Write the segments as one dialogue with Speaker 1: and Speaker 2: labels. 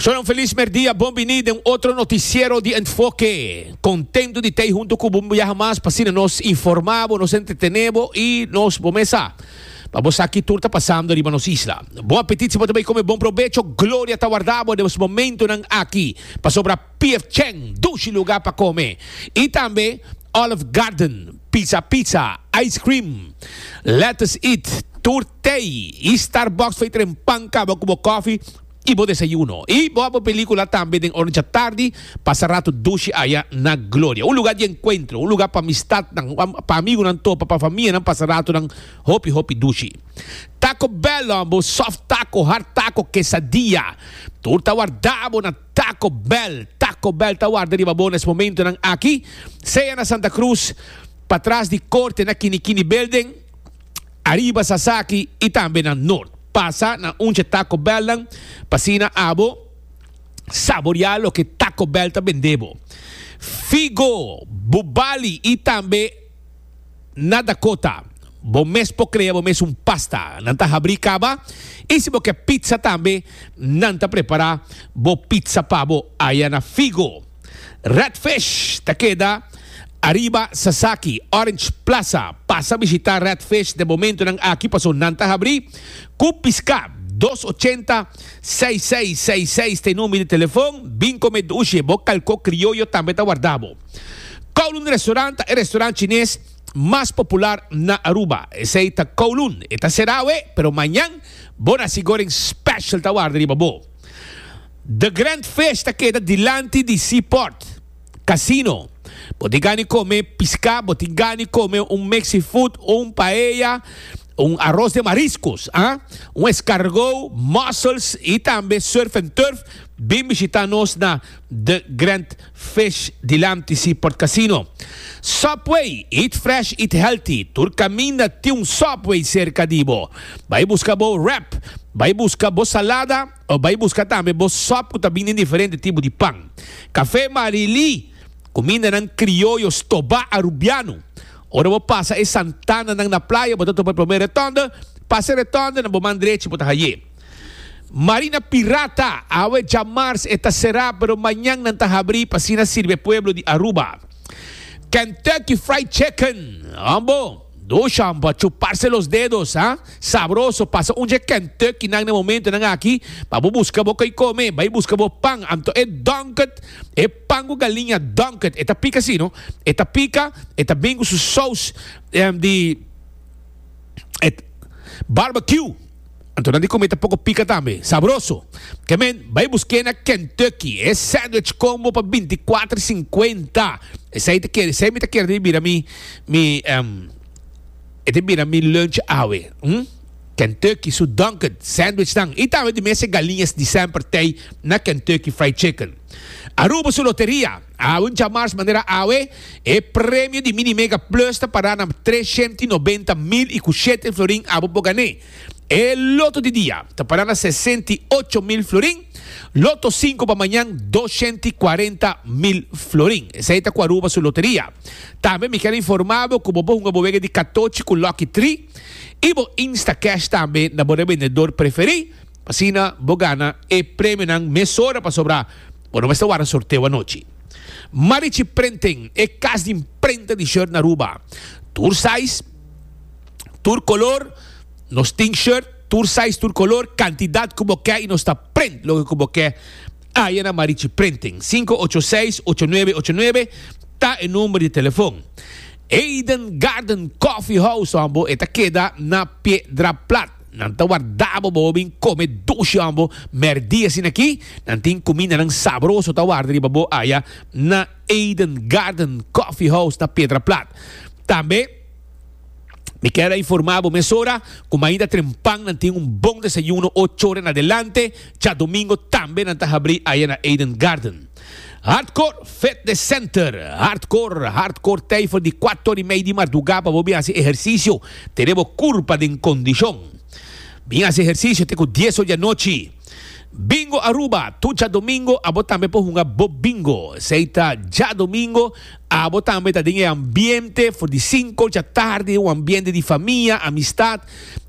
Speaker 1: Shon un felis merdia, bon bini den otro noticiero di Enfoke. Contento di tey hunto cu bo un biaha mas pa asina nos informa bo, nos entretene bo y nos bo mes sa pa bo sa ki tur ta pasando riba nos isla. Bon apetit si bo ta bay come, bon probecho, Gloria ta warda bo den es momentonan aki pasobra PF Chang, dushi lugar pa come y tambe Olive Garden, Pizza Pizza, Ice Cream, Let Us Eat, tur tey y Starbucks fey tren pan caba cu bo coffee y bo desayuno. Y bo a bo pelicula tambe den ora djatardi, pasa rato dushi aya na Gloria. Un lugar di encuentro, un lugar pa amistadnan, pa amigunan topa, pa famianan pasa ratonan hopi hopi dushi. Taco Bell, bo soft taco, hard taco, quesadilla, tur ta warda bo na Taco Bell, Taco Bell ta warda riba bo na es momentonan aki, sea na Santa Cruz, patras di Corte na Kinikini Building, ariba Sasaki y tambe na Noord. Pasa na un dje Taco Bellnan pa asina abo saborea loke Taco Bell ta bende bo. Figo, Bubali y tambe. Na Dakota, bo mes por crea bo mes un pasta. Nan ta habri caba y si bo ke pizza tambe, nan ta prepara bo pizza pa bo aya na Figo. Red Fish ta keda ariba Sasaki, Orange Plaza. Pasa bishita Red Fish den momentonan aki paso nan ta habri cu pisca. Dos ochenta, seis seis seis seis ta e number di telefon. Bin come dushi, bo calco crioyo tambe ta warda bo. Kowloon Restaurant ta e restaurant chines mas popular na Aruba. Esey ta Kowloon. E ta sera awe, pero mañan bo nasi goreng special ta warda riba bo. The Grand Fish ta keda dilanti di Seaport Casino. Bo tin gana di come pisca, bo tin gana di come un mexi food, un paella, un arroz de mariscos, ah, un escargot, mussels y tambe surf and turf. Bin bishita nos na The Grand Fish dilanti Seaport Casino. Subway, eat fresh, eat healthy. Tur caminda tin un Subway cerca di bo. Bay busca bo wrap, bay busca bo salada o bay busca tambe bo sop cu ta bini den diferente tipo di pan. Café Marily, cumindanan crioyo stoba Arubiano. Ora bo pasa e santananan na playa bo ta topa e prome retonde, pasa e retonde na bo man drechi bo ta haye. Marina Pirata, awe djamars e ta será pero mañan nan ta habrí pa asina sirbi e pueblo di Aruba. Kentucky Fried Chicken, hombo, dusha pa chuparse los dedos, ha, sabroso, pasa un dje Kentucky nan na momentonan aki pa bo busca bo koi come, bai busca bo pan, anto e Dunkin', e pan cu galiña Dunkin', e ta pica si no, e ta pica, e ta bin cu su saus di barbecue. Anto nan di come ta poco pica tambe. Sabroso. Ke men, bai busk'é na Kentucky. E sandwich combo pa binti kuater sinkuenta. Esei ta kere, esei mi ta kere di bira mi, mi, em, e ta bira mi lunch awe. Hm? Kentucky su Dunkin' sandwich nan. I tambe di mes e galiñas di semper tei na Kentucky Fried Chicken. Aruba su loteria. Awe un djamars manera awe, e premio di Mini Mega Plus ta pará na 390 mil i ku shete florin abo por gané. E loto di dia ta pará na 68 mil florin, loto sinku pa mañan 240 mil florin. Esei ta ku Aruba su loteria. Tambe mi kier informá bo ku bo por hunga bo wega di katochi ku Lucky Tree i bo Instacash tambe na bo rebendedor preferí, pa asina bo gana e premionan mesora pasobra Bo no mester warda sorteo anochi. Marichi Printing, e kas di imprenta di shirt na Aruba. Tur size, tur color, nos tin shirt, tur size, tur color, cantidad cu bo ke y nos ta print loke cu bo ke aya na Marichi Printing. 586 8989 ta e number di telefon. Eden Garden Coffee House, bo e ta keda na Piedra Plat. Nan ta warda bo bo bin come dushi ambo merdi asina aki. Nan tin cumindanan sabroso ta warda riba bo aya na Eden Garden Coffee House na Piedra Plat. Tambe mi kier a informa bo mesora cu mainta trempan nan tin un bon desayuno ocho ora en adelante. Djadomingo tambe nan ta habri aya na Eden Garden. Hardcore Fitness Center, Hardcore, Hardcore tei for di cuatro ora y mei di marduga pa bo bin haci ehercicio, tene bo curpa den condicion. Bin haci ehercicio te cu dies ora di anochi. Bingo Aruba, tur djadomingo abo tambe por hunga bo bingo. Esey ta djadomingo, abo tambe ta den e ambiente for di cinco djatardi, un ambiente di famia, amistad.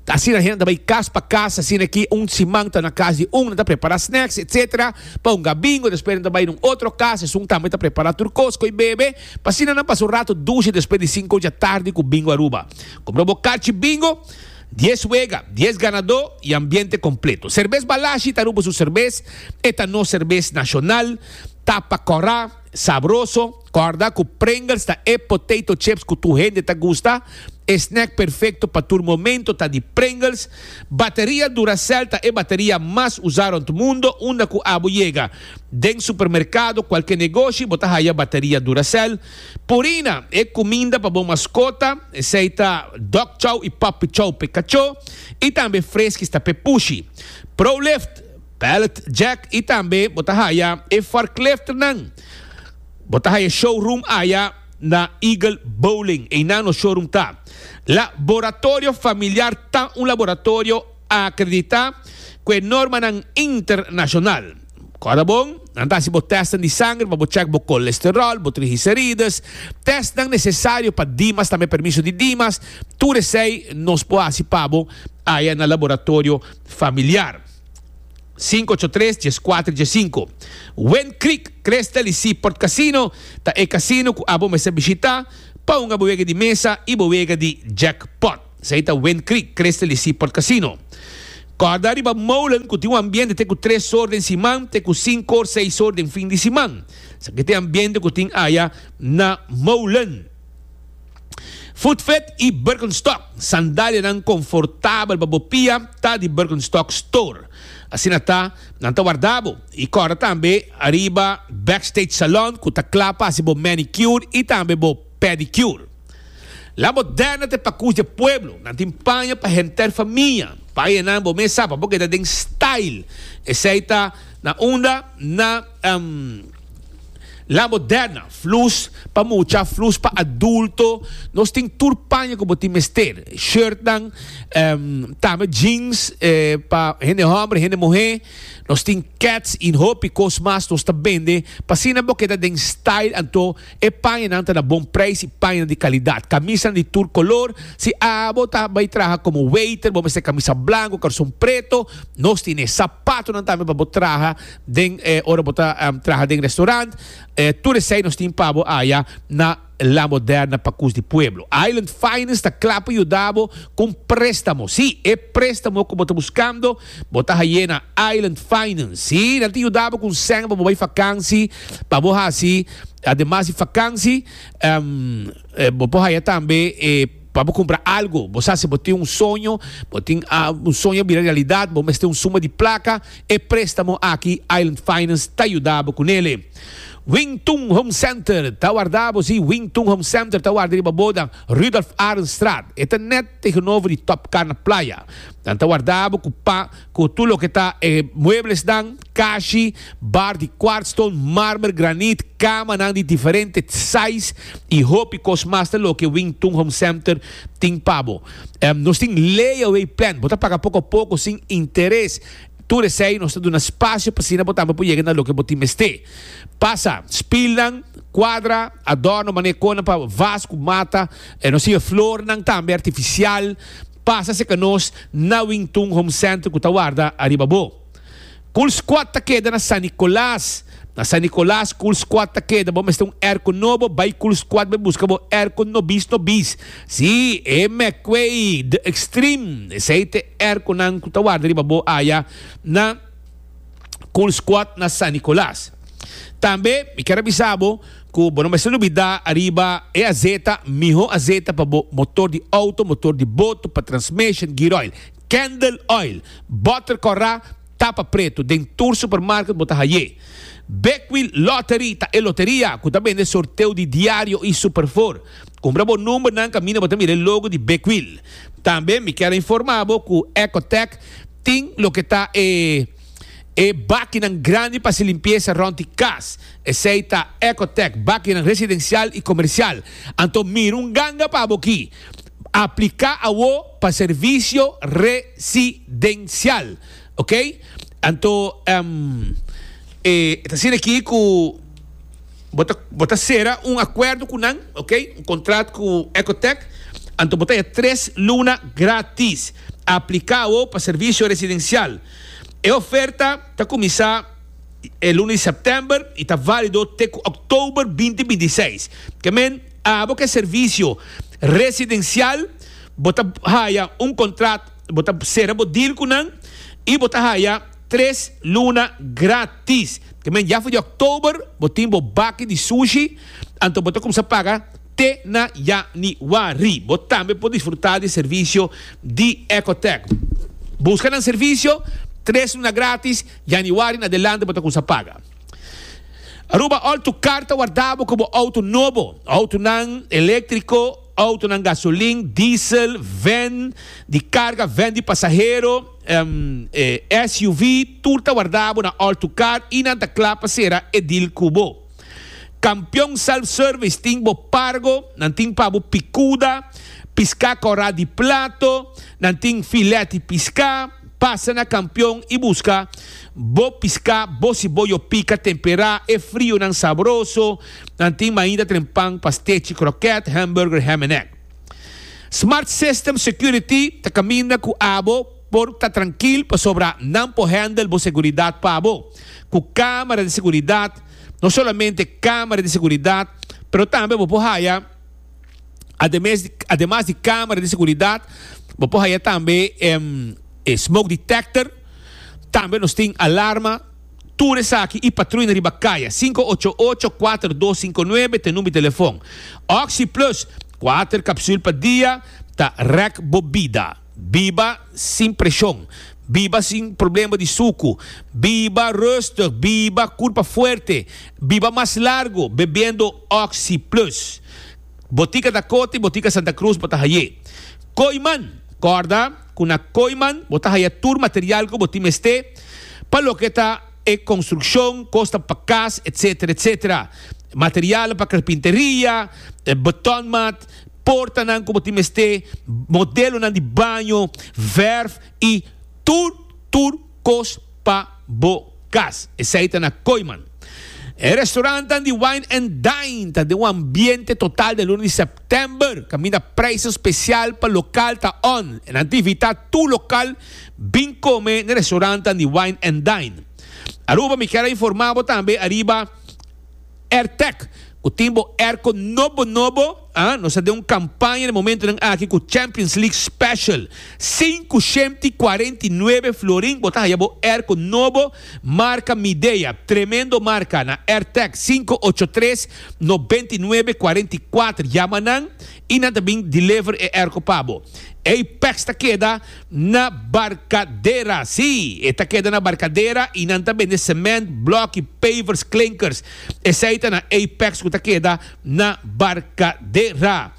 Speaker 1: Asina hende ta bay cas pa cas, asina aki un siman ta na cas di un, nan ta prepara snacks etc. Pa hunga bingo, despues nan ta bay na un otro cas, esun tambe ta prepara tur cos cu e bebe, pa asina nan pasa un rato dushi despues di cinco djatardi cu Bingo Aruba. Cumpra bo carchi bingo. Dies wega, dies ganadó i ambiente kompleto. Serbes Balashi ta Aruba su serbes, e ta nos serbes nashonal, tapa kòrá, sabroso. Kòrda ku Pringles ta e potato chips ku tur hende ta gusta. E snack perfekto pa tur momento ta di Pringles. Bateria Duracell ta e bateria mas usá rònt mundo. Unda ku abo yega den supermerkado, kualke negoshi, bo ta haya bateria Duracell. Purina, e kuminda pa bo maskota, esei ta dog chow i puppy chow p'e kachó, i tambe Friskies ta p'e pushi. Prolift, pallet jack i tambe bo ta haya e forklifternan. Bo ta haya showroom aya na Eagle Bowling, einan nos showroom ta. Laboratorio Familiar ta un laboratorio akreditá ku e normanan internashonal. Kòrda bon, nan ta hasi bo tèstnan di sanger pa bo chèk bo kolesteròl, bo triglicerides, tèstnan nesesario pa Dimas, tambe permiso di Dimas, tur esei nos por hasi pa bo aya na laboratorio familiar. Sinku ocho tres, dieskuater, diesinku. Wind Creek, Crystal i Seaport Casino ta e kasino ku abo mester bishitá pa hunga bo wega di mesa i bo wega di jackpot. Esei ta Wind Creek, Crystal i Seaport Casino. Kòrda riba Molen ku tin un ambiente te ku tres or den siman te ku sinku or, seis or den fin di siman. Esaki ta e ambiente ku tin aya na Molen. Footfit i Birkenstock, sandalianan konfortabel pa bo pia ta di Birkenstock Store. Asina ta, nan ta warda bo. I kòrda tambe ariba Backstage Salon ku ta kla pa hasi bo manicure i tambe bo pedicure. La moderna ta e pakus di e pueblo. Nan tin paña pa henter famia. Pañanan bo mes sa pa bo keda den style. Esei ta na unda? Na La Moderna. Flus pa mucha, flus pa adulto. Nos tin tur paña ku bo tin mester. Shirtnan, tambe jeans pa hende homber, hende muhe. Nos tin kets i hopi kos mas nos ta bende pa asina bo keda den style anto E pañanan ta na bon prijs i pañanan di kalidat. Kamisanan di tur kolor. Si abo ta bai traha komo waiter, bo mester kamisa blanku, karson preto. Nos tin e sapatonan tambe pa bo traha den ora bo ta traha den restaurant. Tur esei nos tin pa bo aya na La Moderna Pakus di Pueblo. Island Finance ta kla pa yuda bo ku un préstamo. Sí, e préstamo ku bo ta buskando, bo ta haye na Island Finance. Sí, nan ta yuda bo ku un sèn pa bo bai fakansi, pa bo hasi. Ademas di fakansi, bo por haya tambe pa bo kumpra algu. Bo sa si bo tin un soño, bo tin un soño bira realidat, bo mester un suma di plaka, e préstamo aki Island Finance ta yuda bo kunele. Wing Tun Home Center ta warda bo, si, Wing Tun Home Center ta warda riba bo na Rudolf Arendstraat. E ta nèt tegenover di Top Car na Playa. Nan ta warda bo ku pa. Ku tur loke ta e mueblesnan, kashi, bar di kwartstone, marmer, granit, kamanan di diferente size i hopi kos mas ta loke Wing Tun Home Center tin pa bo. Nos tin layaway plan, bo ta paga poko poko sin interes. Tur esei nos ta duna spasio pa asina bo tambe por yega na loke bo tin mester. Pasa, spilnan, kuadra, adorno manera konan pa vas ku mata, nos tin e flornan tambe artifisial. Pasa serka nos na Wingtun Home Center ku ta warda ariba bo. Cool Squad ta keda na San Nicolas. Na San Nicolas Cool Squad ta keda. Bo mester un airco nobo, bai Cool Squad bai buska bo airco nobis nobis. Si, e McQuay, The Extreme, esei ta e airconan ku ta warda riba bo aya na Cool Squad na San Nicolas. Tambe mi kier a bisa bo ku bo no mester lubida ariba e azeta, miho azeta pa bo motor di auto, motor di boto, pa transmission, gear oil, candle oil, boter kòrá, tapa pretu, den tur supermarket bo ta haye. Big Wheel Lottery ta e loteria ku ta bende sorteo di diario i superfor. Kumpra bo numbernan kaminda bo ta mira e logo di Big Wheel. Tambe mi kier a informa bo ku Ecotec tin loke ta e. E bakinan grandi pa hasi limpiesa rònt di kas. Esei ta Ecotec, bakinan residensial i komersial. Anto mira un ganga pa bo aki. Apliká awo pa servisio residensial. Ok. Anto e ta asina aki ku bo ta bo ta sera un akuerdo ku nan, ok, un kontrat ku Ecotech, anto bo ta haya tres luna gratis. Aplika awo pa servisio residensial. E oferta ta kuminsá e luna di sèptèmber i ta válido te ku òktober binti 26. Ke men abo ku e servisio residensial bo ta haya un kontrat, bo ta sera bo deal ku nan i bo ta haya tres luna gratis. Ke men ya for di òktober bo tin bo baki di sushi, anto bo ta kumsa paga te na yanüari. Bo tambe por disfrutá di servisio di Ecotech. Buska nan servisio, tres luna gratis, yanüari en adelante bo ta kumsa paga. Aruba Auto Car ta warda bo ku bo outo nobo, outonan eléktriko, Autonan gasolin, diesel, van di carga, van di pasahero, SUV, tur ta warda bo na All to Car y nan ta cla pa cera e deal cu bo. Campeon Self Service tin bo pargo, nan tin pa bo picuda, pisca cora di plato, nan tin filet di pisca, pasa na Campeon y busca bo pisca, bo siboyo pica tempera, e frionan sabroso, Nan tin mainda tren pan, pastechi, kroket, hamburger, ham en egg. Smart System Security ta kaminda ku abo por ta trankil pasobra nan por handle bo seguridat pa bo. Ku kamera di seguridat, no solamente kamera di seguridat, pero tambe bo por haya ademes ademas di kamera di seguridat, bo por haya tambe e smoke detector, tambe nos tin alarma. Tur esaki y patruina riba caya. 588 4259 ta e number di telefon. Oxi Plus, kuater capsul pa dia ta rek bo bida. Biba sin presion. Biba sin problema di sucu. Biba rustig. Biba curpa fuerte. Biba mas largo bebiendo Oxi Plus. Botica Dakota y Botica Santa Cruz bo ta haye. Kooiman, Corda cu na Kooiman bo ta haya tur material cu bo tin mester pa loke ta e construccion, cosnan pa cas, etc. Etc. Materialnan pa carpinteria, betonmat, portanan cu bo tin mester, modelonan di baño, verf y tur tur cos pa bo cas. Esey ta na Kooiman. E restaurantnan di Wine and Dine ta den un ambiente total den luna di september, caminda prijsnan special pa local ta on. Nan ta invita tur local bin come na e restaurantnan di Wine and Dine. Aruba mi kier a informa bo tambe ariba Airtec cu tin bo airco nobo nobo, ah, nos ta den un campaña na e momentonan aki cu Champions League Special. 549 florin bo ta haya bo airco nobo marca Midea, tremendo marca na Airtec 583 99 44. Yama nan y nan ta bin deliver e airco pa bo. Apex ta keda na Barcadera. Sí, e ta keda na Barcadera y nan ta bende cement, bloki, pavers, klinkers. Esey ta na Apex cu ta keda na Barcadera.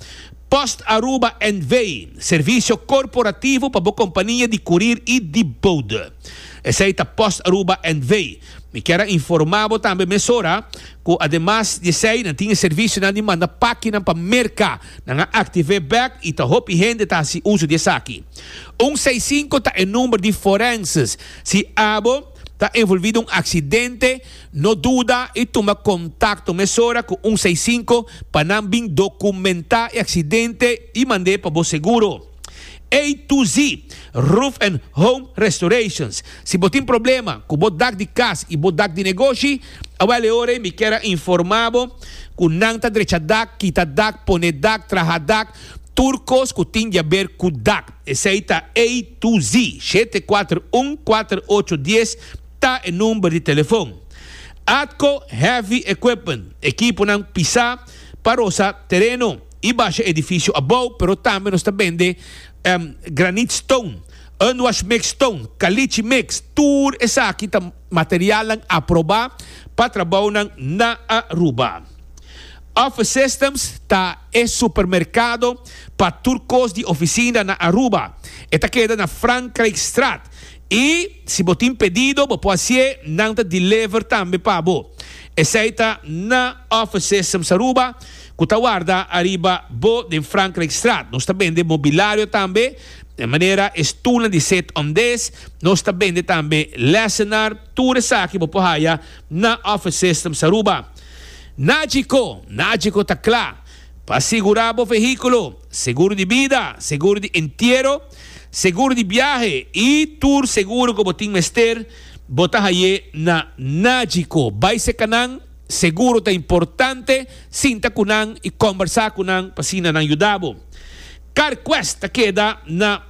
Speaker 1: Post Aruba NV, servicio corporativo pa bo compania di curir y di bode. Esey ta Post Aruba NV. Mi kier a informa bo tambe mesora cu ademas di esey nan tin e servicionan di manda pakinan pa Merca. Nan a active bek y ta hopi hende ta haci uso di esaki. Un seis cinco ta e number di forenses. Si abo ta envolvi den un accidente, No duda y tuma contacto mesora cu un seis cinco pa nan bin documenta e accidente y mand'e pa bo seguro. A to Z Roof and Home Restorations Si bo tin problema cu bo dak di cas y bo dak di negoshi, awel e ora ey mi kier a informa bo cu nan ta drecha dak, kita dak, pone dak, traha dak, tur cos cu tin di haber cu dak. Esey ta A to Z, 741 48 dies. Ta e number di telefon. Atco Heavy Equipment, ekiponan pisá pa rosa tereno i basha edifisio abou, pero tambe nos ta bende granite stone, unwash mix stone, caliche mix, tur esaki ta materialnan aprobá pa trabounan na Aruba. Office Systems ta e supermerkado pa tur kos di ofisina na Aruba. E ta keda na Frankrijkstraat. I si bo tin pedido bo por hasié, nan ta deliver tambe pa bo. Esei ta na Office Systems Aruba ku ta warda ariba bo den Frankrijkstraat. Nos ta bende mobilario tambe. De manera e stulnan di sit on this, nos ta bende tambe lessenaar, tur esaki bo por haya na Office Systems Aruba. Nagico, Nagico ta kla pa sigura bo vehiculo, seguro di bida, seguro di entiero, seguro di biahe y tur seguro cu bo tin mester bo ta haye na Nagico. Bay seca nan, seguro ta importante, sinta cu nan y combersa cu nan pa asina nan yuda bo. CarQuest ta keda na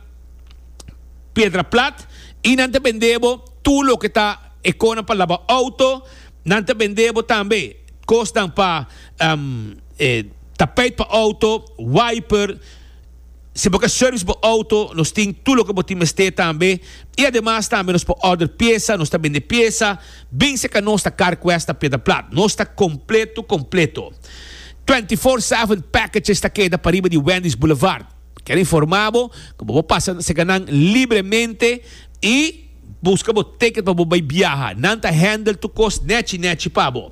Speaker 1: Piedra Plat y nan ta bende bo tur loke ta e konan pa laba auto, nan ta bende bo tambe kosnan pa tapijt pa auto, wiper, si bo ke service bo auto nos tin tur loke bo tin mester tambe y ademas tambe nos por order pieza, nos ta bende pieza, bin cerca nos ta CarQuest na Piedra Plat, nos ta completo completo. 24/7 Packages ta keda pariba di Wendy's Boulevard. Kier informa bo ku bo por pasa serka nan libremente i buska bo ticket pa bo bai biaha. Nan ta handle tur kos nechi nechi pa bo.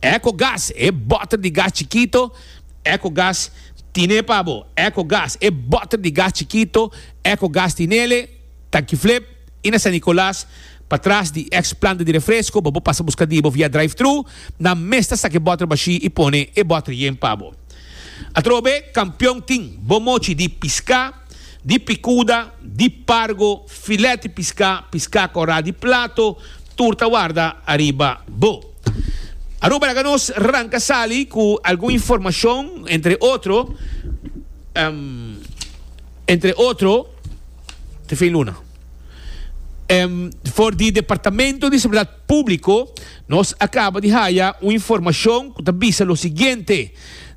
Speaker 1: Ecogas, e bòter di gas chikito, Ecogas tine pa bo. Ecogas, e bòter di gas chikito, Ecogas tinele. Tanki Flip i na San Nicolas, patras di ex planta di refresco, bo por pasa busca di bo via drive thru, nan mes ta saca e boter bashi i pone e boter yen pa bo. Atrobe, Campeon tin bo mochi di pisca, di picuda, di pargo, filet di pisca, pisca cora di plato, tur ta warda ariba bo. Aruba laga nos ranca sali cu algun informacion, entre otro, entre otro, Te fin luna. For di Departamento di Seguridad Publico nos a caba di haya un informacion cu ta bisa lo siguiente,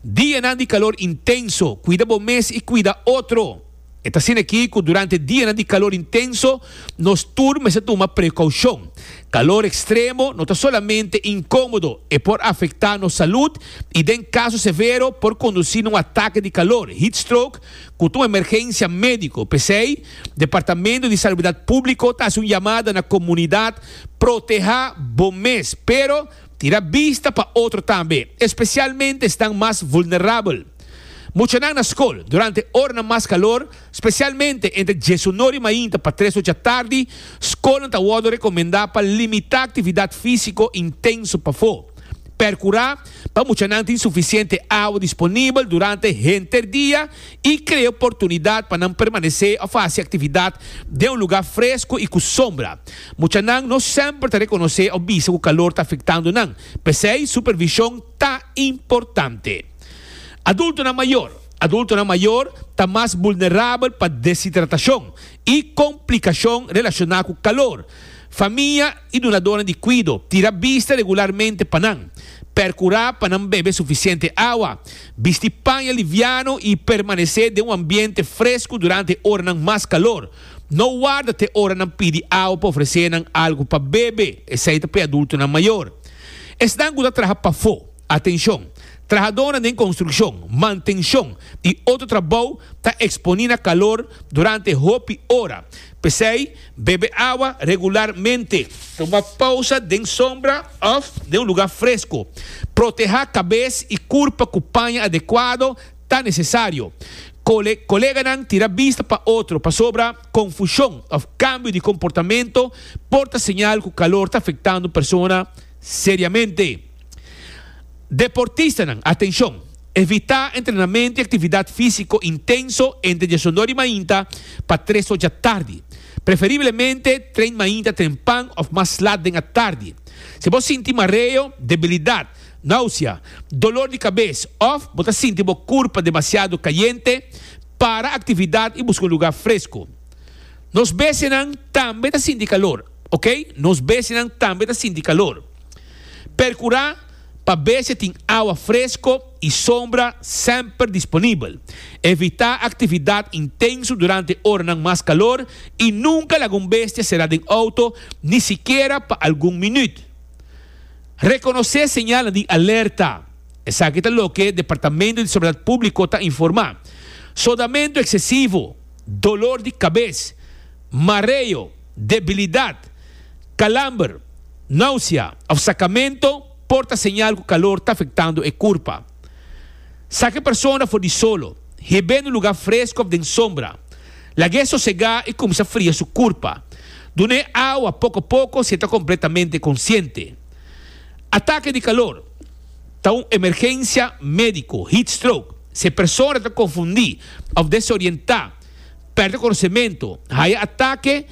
Speaker 1: Dianan di calor intenso, cuida bo mes y cuida otro. E ta asina aki cu durante dianan di calor intenso nos tur mester tuma precaucion. Calor extremo no ta solamente incomodo, e por afecta nos salud y den caso severo por conduci na un atake di calor, heat stroke, Ku ta un emergensia médiko. P'esei, Departamento di Salubridat Públiko ta hasi un yamada na komunidat protehá bo mes, pero tira bista pa otro tambe, espesialmente esnan mas vulnerabel. Muchanan na skol, durante oranan mas kalor, spesialmente entre diesunor i mainta pa tres ocha tardi, skolnan ta wòrdu rekomendá pa limitá aktividat físiko intenso pafó. Perkurá pa muchanan tin sufisiente awa disponibel durante henter dia i krea oportunidat pa nan permanesé òf hasi aktividat den un lugá fresku i ku sombra. Muchanan no semper ta rekonosé òf bisa ku kalor ta afektando nan, p'esei supervishon ta importante. Adultonan mayor. Adultonan mayor ta mas vulnerabel pa deshidratashon i komplikashon relashoná ku kalor. Famia i dunadónan di kuido, tira bista regularmente pa nan. Perkurá pa nan bebe sufisiente awa, bisti paña liviano i permanesé den un ambiente fresku durante oranan mas kalor. No warda te ora nan pidi awa pa ofresé nan algu pa bebe, esei ta pa e adultonan mayor. Esnan ku ta traha pafó, atenshon! Trahadónan den konstrukshon, mantenshon i otro trabou ta eksponí na kalor durante hopi ora. P'esei, Bebe awa regularmente. Tuma pausa den sombra òf den un lugá fresku. Protehá kabes i kurpa ku paña adekuado ta nesesario. Kole koleganan tira bista pa otro pasobra konfushon òf kambio di komportamentu por ta señal ku kalor ta afektando un persona seriamente. Deportistanan, atenshon! Evitá entrenamentu i aktividat físiko intenso entre diesondor di mainta pa tres or djatardi. Preferiblemente tren mainta trempan òf mas lat den atardi. Si bo sinti mareo, debilidat, nausea, dolor di kabes òf bo ta sinti bo kurpa demasiado kayente, para aktividat i buska un lugá fresku. Nos bestianan tambe ta sinti kalor, oke? Nos bestianan tambe ta sinti kalor. Perkurá pa bestia tin awa fresko i sombra semper disponibel. Evitá aktividat intenso durante oranan mas kalor i nunka laga un bestia será den outo ni sikiera pa algun minüt. Rekonosé señalnan di alerta. Esaki ta loke Departamento di Salubridat Públiko ta informá. Sodamentu eksesivo, dolor di kabes, mareo, debilidat, kalamber, Nausea of sacamento por ta señal cu calor ta afectando e curpa. Saca e persona for di solo, hib'e na un lugar fresco of den sombra. Lag'é sosegá i kuminsá fria su kurpa. Dun'é awa poko poko si e ta kompletamente konsiente. Atake di kalor ta un emergensia médiko, heat stroke. Si e persona ta konfundí òf desorientá, pèrdè konosementu, haya atake,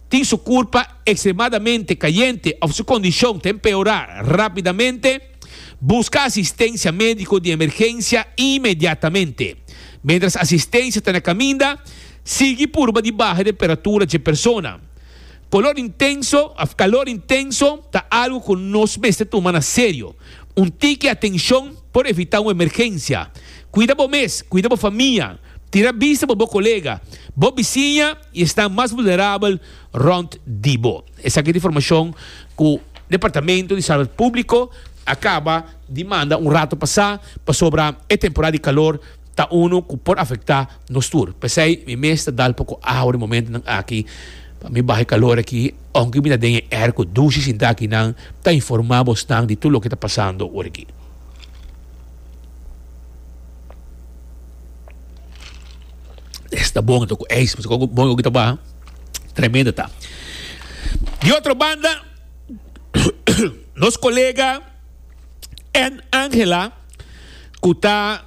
Speaker 1: tin su kurpa ekstremadamente kayente òf su kondishon ta empeorá rápidamente, buska asistensia médiko di emergensia inmediatamente. Miéntras asistensia ta na kaminda, sigui purba di baha e temperatura dje persona. Kolor intenso òf kalor intenso ta algu ku nos mester tuma na serio. Un tiki atenshon por evitá un emergensia. Kuida bo mes, kuida bo famia, tira bista pa bo kolega, bo bisiña i esnan mas vulnerabel rònt di bo. Esaki ta informashon ku Departamento di Salud Públiko a kaba di manda un rato pasá pasobra e temporada di kalor ta unu ku por afektá nos tur. P'esei mi mes ta dal poko awa den momentunan aki pa mi baha e kalor aki, ounke mi ta den e airco dushi sintá akinan ta informá bosnan di tur loke ta pasando ora aki. Esta bon anto ku ijs, pasobra kon bon ku ta baha, tremendo ta. Di otro banda, nos kolega Ann Angela ku ta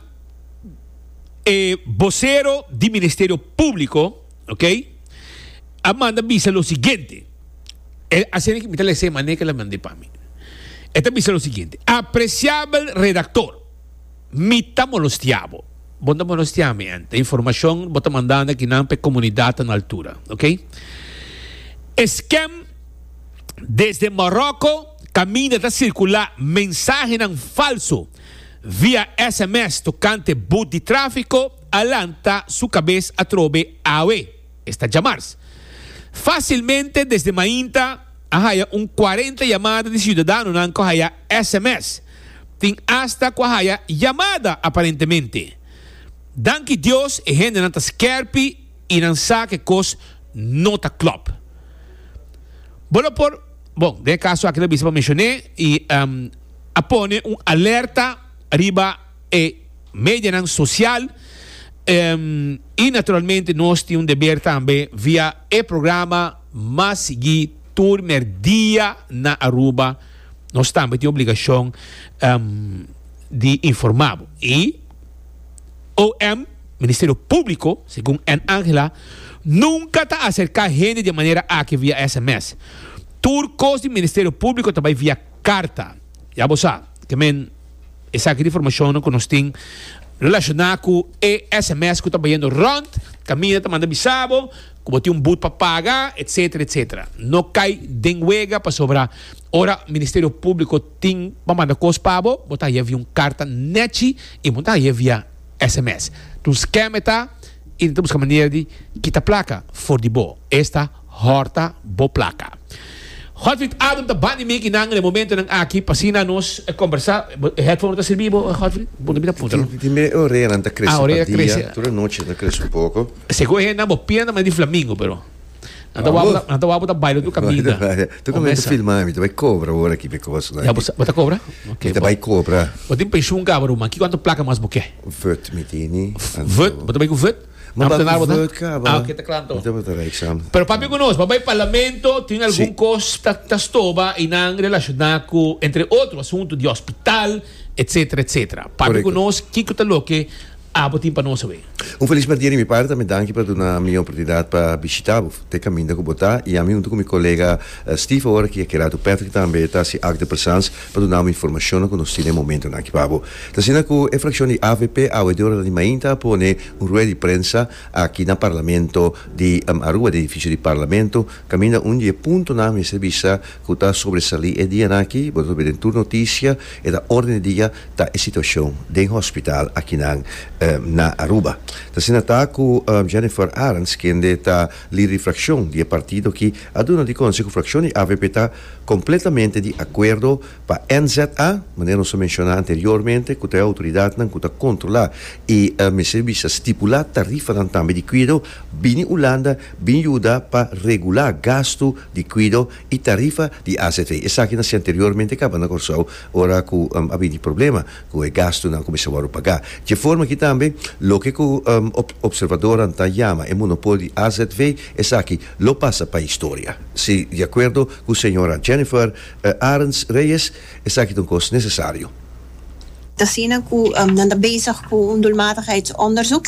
Speaker 1: e bosero di Ministerio Públiko, ok, a manda bisa lo siguiente. E asina mi ta lesa e manera ku el a manda pa mi. E ta bisa lo siguiente, Apresiabel redaktor, mi ta molostia bo. Bo no ta molostia mi, ente. Informashon bo ta mandando akinan pa e komunidat ta na altura, ok. E skem desde Maròko kaminda ta sirkulá mensahenan falso via sms tokante but di tráfiko a lanta su kabes atrobe awe, esta djamars. Fásilmente desde mainta a haya un cuarenta yamada di siudadanonan ku a haya sms. Tin asta ku a haya yamada aparentemente. Danki Dios e hendenan ta skerpi i nan sa ku e kos no ta klòp. Bo lo por, bon, den e kaso aki ta bisa pa menshoné i a pone un alerta riba e medianan sosial i naturalmente nos tin un deber tambe via e programa mas sigui tur merdia na Aruba nos tambe tin obligashon di informa bo i OM, Ministerio Publico, segun Ann Angela, nunca ta acerca hende di e manera aki via sms. Tur cos di Ministerio Publico ta bay via carta. Ya bo sa, ke men esaki ta informacionnan cu nos tin relaciona cu e sms cu ta bayendo rond, caminda ta manda bisa bo cu bo tin un but pa paga, etcetera, etcetera. No cay den wega pasobra ora Ministerio Publico tin pa manda cos pa bo, bo ta haya via un carta nechi y bo ta haya via sms. Ta un scam e ta y nan ta busca manera di kita placa for di bo. Esta horta bo placa. Godfried Adam ta bandi mi kinan na e momentonan aki pa asina nos combersa. E headphone no ta sirbi bo, Godfried? Bo no mira punta no?
Speaker 2: Tin mi oreanan ta crece pa dia. Tur e nochi ta crece un poco.
Speaker 1: Segun e hendenan bo pia ta manera di flamingo pero. Nan ta wou nan ta wou ta baila tur kaminda.
Speaker 2: Tur kaminda ta filma mi ta bai kobra awor aki mi kosnan.
Speaker 1: Ya bo sa bo ta kobra?
Speaker 2: Mi ta bai kobra.
Speaker 1: Bo tin penshun kaba ruman ki kuantu plaka mas bo ke?
Speaker 2: Vut mi tini.
Speaker 1: Vut? Bo ta bai ku vut?
Speaker 2: Mi bai ku vut kaba.
Speaker 1: Ah oke ta kla anto.
Speaker 2: Mi tabata rijk sam.
Speaker 1: Pero papia ku nos bo bai parlamento tin algun kos ta ta stoba i nan relashona ku entre otro asuntu di hospital etcetera etcetera. Papia ku nos kiko ta loke Abo tin pa nos awe.
Speaker 2: Un felis merdia di mi parti tambe danki pa duna mi e oportunidat pa bishita bo te kaminda ku bo ta i ami huntu ku mi kolega Steve awor aki Gerardo Patrick tambe ta hasi acte de presence pa duna bo informashonnan ku nos tin e momentonan aki pa bo. Ta asina ku e frakshon di avp awe di ora di mainta a pone un rueda di prensa aki na Parlamento di Aruba den edifisio di Parlamento kaminda un di e puntonan mester bisa ku ta sobresalí e dianan aki bo ta topa den tur notisia e ta orden di dia ta e situacion den hospital akinan na Aruba. Ta asina ta cu Jennifer Arends, kende ta lider di fraccion di e partido aki, a duna di conoce cu fraccion di avp ta completamente di acuerdo pa NZA, manera nos a menciona anteriormente, cu ta e autoridadnan cu ta controla y mester bisa stipula tarifanan tambe di cuido, bini Hulanda bin yuda pa regula gasto di cuido y tarifa di azv. Esaki na si anteriormente caba na Corsou ora cu a bini problema cu e gastonan cu mester wordo paga. Dje forma aki tambe. tambe loke ku opservadornan ta yama e monopolio di azv, esaki lo pasa pa historia. Si di akuerdo ku señora Jennifer Arends Reyes, esaki ta un kos nesesario.
Speaker 3: Ta asina cu nan ta bezig cu un doelmatigheidsonderzoek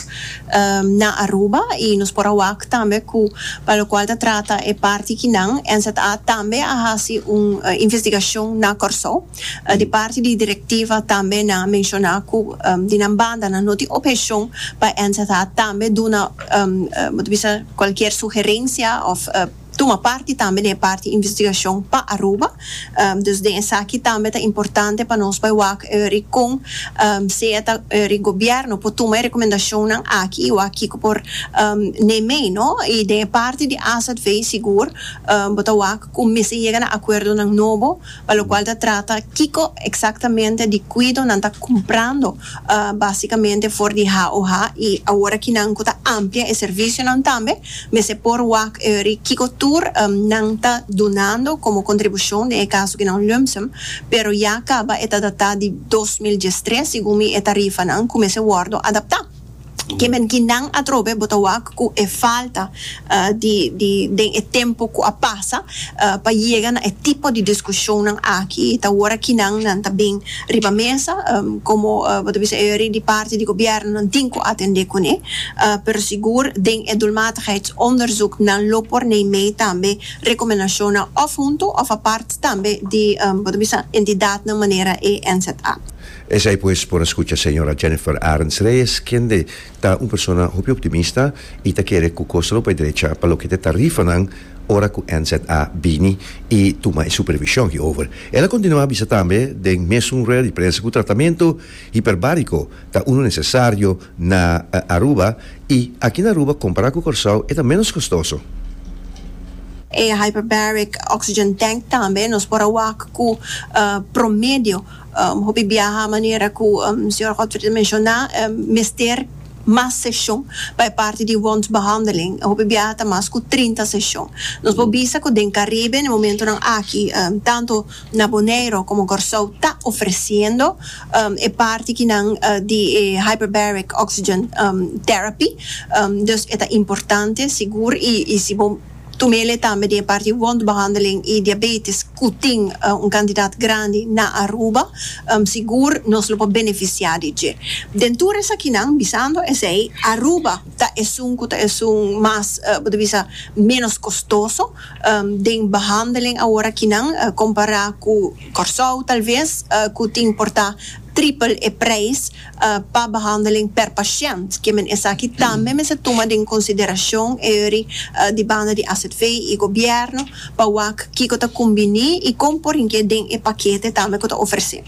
Speaker 3: na Aruba y nos por a wak tambe cu pa locual ta trata e parti kinan NZA tambe a haci un investigacion na Corsou. Di parti di directiva tambe nan a menciona cu di nan banda nan no tin obhecion pa NZA tambe duna bo ta bisa cualkier sugerencia of tuma parti tambe den e parti investigashon pa Aruba. Dus den esaki tambe ta importante pa nos bai wak eri kon sea ta eri gobièrnu por tuma e rekomendashonnan aki i wak kiko por neem'ei no. I den e parti di azv sigur bo ta wak ku mester yega na akuerdonan nobo pa lokual ta trata kiko eksaktamente di kuido nan ta kumprando basikamente for di HOH i awor aki nan ku ta amplia e servisionan tambe. Mester por wak eri kiko tur nan ta dunando komo kontribushon den e kaso ki nan lumsum, pero ya kaba e ta datá di 2013 segun mi e tarifanan ku mester wòrdu adaptá. Ke men ki nan atrobe bo ta wak ku e falta di di den e tempu ku a pasa pa yega na e tipo di diskushonnan aki ta wor aki nan nan ta bin riba mesa komo bo ta bisa eri di parti di gobièrnu nan tin ku atendé kuné. Pero sigur den e doelmatigheidsonderzoek nan lo por nei mee tambe rekomendashonnan òf huntu òf apart tambe di bo ta bisa entidatnan manera e NZA.
Speaker 2: Esei pues por a skucha señora Jennifer Arends Reyes kende ta un persona hopi optimista i ta kere ku kos lo bai drecha pa loke ta e tarifanan ora ku NZA bini i tuma e supervishon hierover. El a kontinuá bisa tambe den mesun rueda di prensa ku tratamentu hiperbariko ta unu nesesario na Aruba y aki na Aruba compara cu Corsou e ta menos costoso.
Speaker 3: E hyperbaric oxygen tank tambe nos por a wak cu promedio hopi biaha manera cu señor Godfrey ta menciona mester mas sesion pa e parti di wondbehandeling hopi biaha ta mas cu 30 sesion. Nos por bisa cu den Caribe na e momentonan aki tanto Na Boneiro como Corsou ta ofreciendo e parti kinan di e hyperbaric oxygen therapy. Dus e ta importante sigur y si bo tumele tambe den e parti wondbehandeling y diabetes cu tin un cantidad grandi na Aruba sigur nos lo por beneficia di dje. Den tur esakinan bisando esey Aruba ta esun cu ta esun mas bo ta bisa menos costoso. Den behandeling awor akinan kompará ku Kòrsou talves ku tin por ta tripel e preis pa behandeling per pashènt. Ke men esaki tambe mester tuma den konsiderashon eri di banda di azv i gobièrnu pa wak kiko ta kumbiní i kon por hink'é den e pakete tambe ku ta ofresé.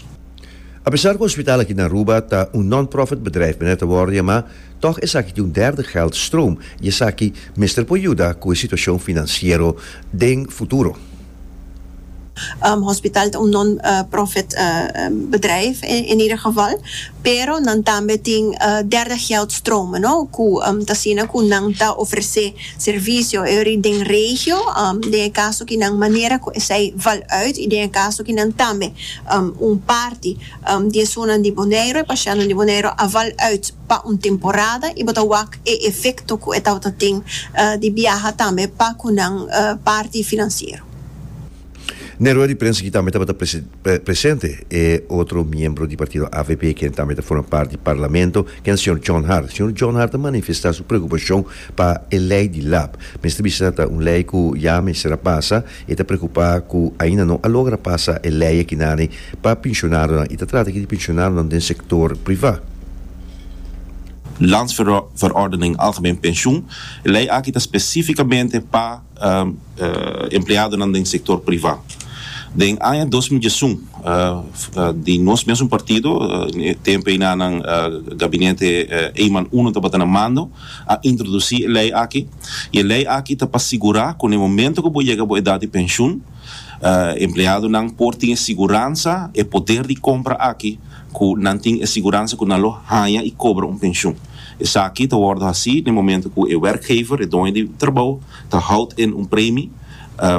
Speaker 2: Apesar ku hospital aki na Aruba ta un non-profit bedrijf manera ta wòrdu yamá, Tòg esaki tin un derde geldstroom i esaki mester por yuda ku e situashon finansiero den futuro.
Speaker 3: Hospital ta un non profit bedrijf in ieder geval, pero nan tambe tin derde geldstromen no, ku ta asina ku nan ta ofresé servisio eri den regio, den e kaso ki nan manera ku esei val uit i den e kaso ki nan tambe un parti di esunnan di Boneiru, e pashèntnan di Boneiru a val uit pa un temporada i bo ta wak e efekto ku e tabata tin di biaha tambe pa ku nan parti finansiero.
Speaker 2: Na e rueda di prensa aki tambe tabata presente e otro miembro di partido avp ken tambe ta forma parti di parlamento ken señor John Hart. Señor John Hart a manifesta su preokupashon pa e lei di lab. Mester bisa ta un lei ku ya mester a pasa. E ta preokupá ku ainda no a logra pasa e lei akinani pa pensionadonan i ta trata aki di pensionadonan den sektor privá.
Speaker 4: Landsverordening Algemeen Pensioen. E lei aki ta spesífikamente pa empleadonan den sektor privá. Den aña 2011 di nos mesun partido, e tempu einanan gabinete Eman I tabata na mando, a introdusí e lei aki. I e lei aki ta pa sigurá ku na e momento ku bo yega bo edat di penshun, Empleadonan por tin e siguransa, e poder di kompra aki, ku nan tin e siguransa ku nan lo haña i kobra un penshun. Esaki ta wòrdu hasí na e momento ku e werkgever, e doño di trabou, ta houdt in un premi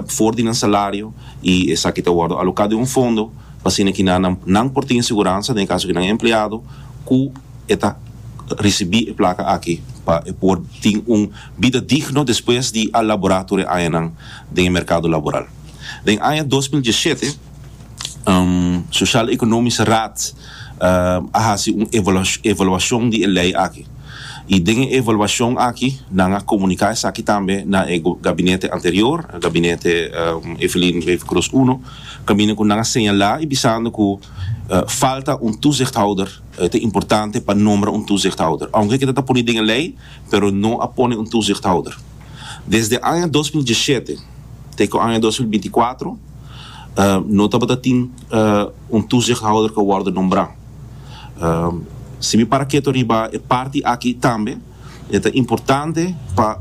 Speaker 4: for di nan salario i esaki ta wòrdu aloká den un fondo pa asina ki nan nan por tin e siguransa, den e kaso ki nan e empleado, ku e ta. risibí e plaka aki pa e por tin un bida digno despues di a laborá tur e añanan den e merkado laboral. Den aña 2017 Sociaal Economische Raad a hasi un evaluashon di e lei aki i den e evaluashon aki nan a komuniká esaki tambe na e gabinete anterior, gabinete Evelyn Wever-Croes I, kaminda ku nan a señalá i bisando ku falta un toezichthouder, e ta importante pa nombra un toezichthouder. Aunke keda ta pone den e lei, pero no a pone un toezichthouder. Desde aña 2017 te ku aña 2024 no tabata tin un toezichthouder ku a wòrdu nombrá. Si mi para ketu riba e parti aki tambe, e ta importante pa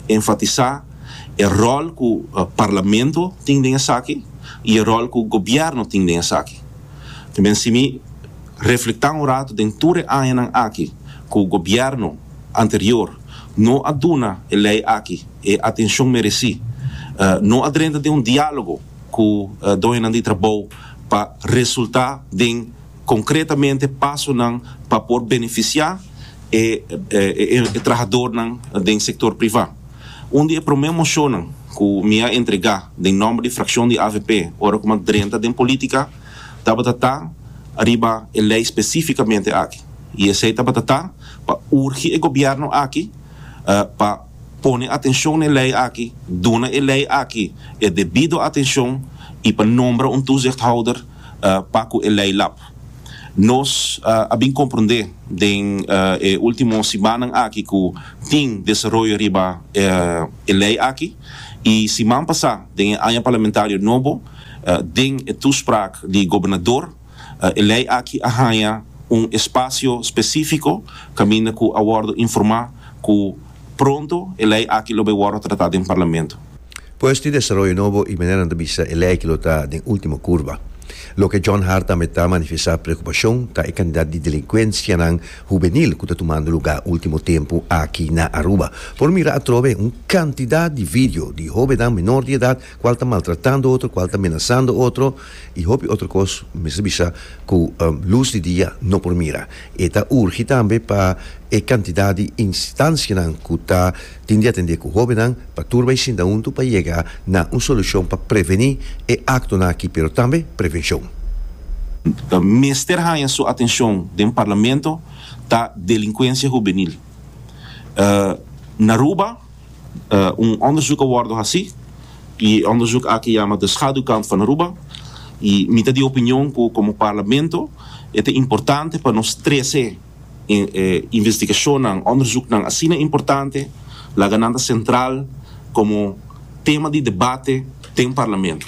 Speaker 4: enfatisá e ròl ku Parlamento tin den esaki i e ròl ku gobièrnu tin den esaki. También si mi reflektá un ratu den tur e añanan aki ku gobièrnu anterior no a duna e lei aki e atenshon meresí, no a drenta den un diálogo ku doñonan di trabou pa resultá den konkretamente pasonan pa por benefisiá e trahadornan den sektor privá. Un di e promé moshonnan ku mi a entregá den nòmber di frakshon di avp ora ku mi a drenta den polítika tabata ta riba e lei spesífikamente aki i esei tabata ta pa urgi e gobièrnu aki pa pone atenshon na e lei aki, duna e lei aki e debido atenshon i pa nombra un toezichthouder pa ku e lei lap. Nos a bin komprondé den e último simannan aki ku tin desaroyo riba e lei aki i siman pasá den e aña parlamentario nobo den e toespraak di gobernador e lei aki a haña un espasio spesífiko kaminda ku a wòrdu informá ku pronto e lei aki lo bai wòrdu tratá den parlamento.
Speaker 2: Pues tin desaroyo nobo i manera nan ta bisa e lei aki lo ta den ultimo kurba. Loke John Hart tambe ta manifestá preokupashon ta e kantidat di delinkuensianan hubenil ku ta tumando lugá ultimo tempu aki na Aruba. Por mira atrobe un kantidat di video di hóbennan menor di edat kual ta maltratando otro, kual ta menasando otro i hopi otro kos mester bisa ku lus di dia no por mira. E ta urgi tambe pa e kantidat di instansianan ku ta Tin di atendé ku hóbennan pa tur bai sinta huntu pa yega na un solushon pa prevení e aktonan aki pero tambe prevenshon.
Speaker 4: Mester haña su atenshon den Parlamento ta delinkuensia hubenil. Na Aruba un onderzoek a wòrdu hasí i e onderzoek aki yama De Schaduwkant van Aruba i mi ta di opinion ku komo Parlamento e ta importante pa nos trese E investigashonnan, onderzoeknan asina importante laga nan ta sentral komo tema di debate den Parlamento.